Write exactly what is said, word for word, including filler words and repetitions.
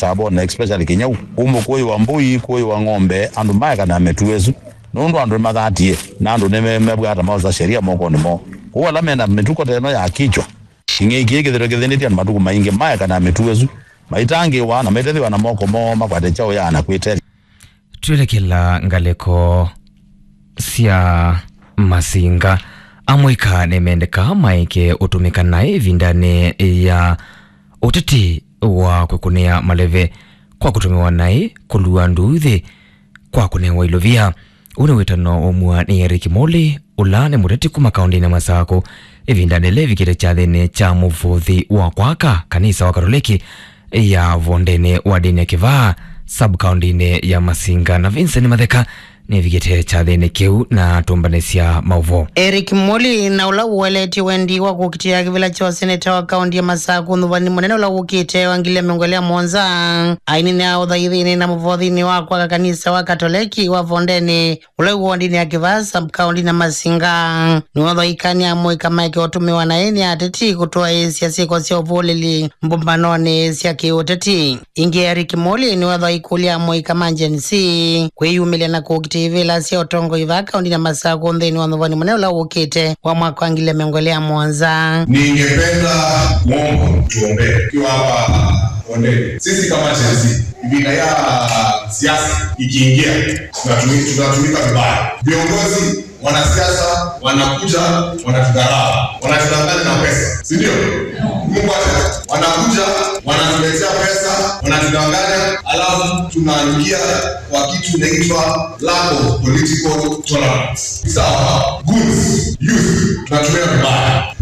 Tabone, especially Kinyau. Kũu Mũkũyũ wa mbũi, Kũyũ wa ng'ombe, andũ maekana mĩtuo ĩsu. Nũndũ andũ nĩmathatie, na andũ nĩmebwata maosa sheria mokonĩ moo. Kũu ala mena mĩtuko ta ĩno ya kichwa, kĩng'ei kĩĩ kĩthĩtwe kĩthĩnĩtye andũ matukũ maingĩ, maekana mĩtuo ĩsu, maitangĩĩwa na maitethĩwa na moko moo makwate kyaũ ya na kwĩtetheesya. Twĩlekela ngalĩko sya Masinga, amũika nĩmendeka maeke ũtũmĩka naĩ ĩvindanĩ ya ũteti wa kwĩkũnĩa maleve kwa kũtũmĩwa naĩ kũlua nduuthĩ kwa kũnewa ilovia. Ũũ nĩ wĩtano waumw'a nĩ Eric Moli, ũla nĩ mũteti kuma kaũndĩnĩ ya Masakũ, ĩvindanĩ yĩla ĩvikĩte kyathĩnĩ kya mũvothi wa kwaka kanisa wa Katoleki ya Vondenĩ wa ndĩni ya Kĩvaa, sub-kaũndĩnĩ ya Masinga, na Vincent Matheka nĩvikĩte kyathĩnĩ kĩu na atũmbanĩsya maũvoo. Eric Moli, na ũla ũeleetye wendi wa kũkitĩa kĩvĩla kya ũseneta wa kaũndĩ ya Masakũ ũthũvanĩ mũnene ũla wũkĩte wa ngili ya mĩongo ĩlĩ na mũonza, aineenea ũthaithinĩ na mũvothinĩ wa kwaka kanisa wa Katoleki wa Vondenĩ, ũla wĩ wondinĩ ya Kĩvaa sub-kaũndĩ na Masinga. Nĩwathaika nĩ amũika maeke ũtũmĩwa naĩ nĩ ateti kũtwaĩĩsya syĩko sya ũvũlĩli mbũmbanonĩ sya kĩũteti. Ĩngĩ, Eric Moli nĩwathaikũlya amũika ma Gen Z kwĩyumĩlya na kũkitĩa ivĩla sya ũtongoi vaa kaũndĩ na Masakũ nthĩnĩ wa ũthũvanĩ mũnene ũla wũkĩte wa mwaka wa ngili ya mĩongo ĩlĩ na mũonza. Ningependa kuomba tuombee tukiwa hapa Bondeni. Sisi kama Gen Z, ĩvinda ya siasa ikiingia, tunatumi-, tunatumika vibaya. Viongozi, wanasiasa wanakuja, wanatudharau, wanatudanganya na pesa, si ndio? Mungu acha, wanakuja, wanatuletea pesa, wanatudanganya, alafu tunaingia kwa kitu inaitwa lack of political tolerance. Sawa, goons, youth, tunatumia vibaya.